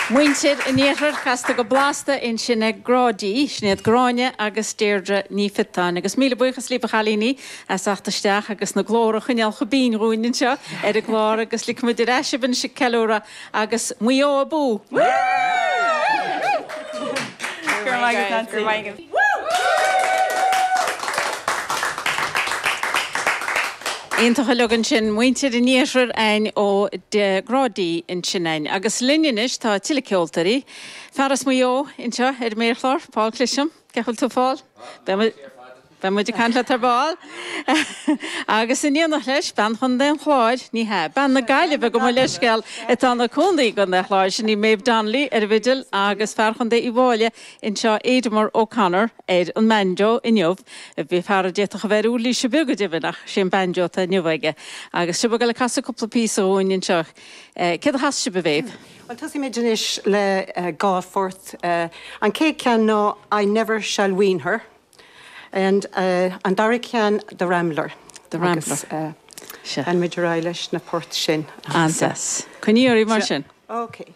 Muintir an Iarthair casta go blasta ansin ag Grá D, sin iad Gráinne agus Deirdre Ní Phiotáin. Agus míle buíochas libh a chailíní as theacht isteach agus na glórtha a choinneáil chomh binn dhúinn anseo ar an gclár agus ligfidh muid ar ais sibh anois ag ceiliúradh agus Maigh Eo abú! Go raibh maith agat Nancy. Go raibh maith agat. Iontach uilig ansin, muintir an iarthair a'inn ó Grá D ansin a'inn. Agus linn anois tá tuilleadh ceoltóirí. Fear as Maigh Eo anseo ar an méarchlár, Paul Clisham. Cén chaoi a bhfuil tú Paul? Beidh muid ag caint leat ar ball. Agus in éineacht leis, bean Chontae an Chláir, ní hea, bean na Gaillimhe gabh mo leithscéal, atá ina cónaí i gContae an Chláir, sin í Méabh Donnelly ar an bhfidil agus fear Chontae Uíbh Fhailí anseo, Aidomar O'Connor, ar an mbanjo inniu. Bhí fear a d'fhéadfadh a bheith ar uirlíse beag go deimhin ach sé an banjo atá inniu aige. Agus sibh ag dul ag casadh cúpla píosa dhúinn anseo. Céard a chasfaidh sibh a Mhéabh? Bhuel, tosaímid anois le dhá phort. An chéad cheann ná I Never Shall Wean Her. And an dara ceann The Rambler. The Rambler. Agus leanfaimid ar aghaidh leis na poirt sin. An-deas. Coinnigh oraibh mar sin. Ok.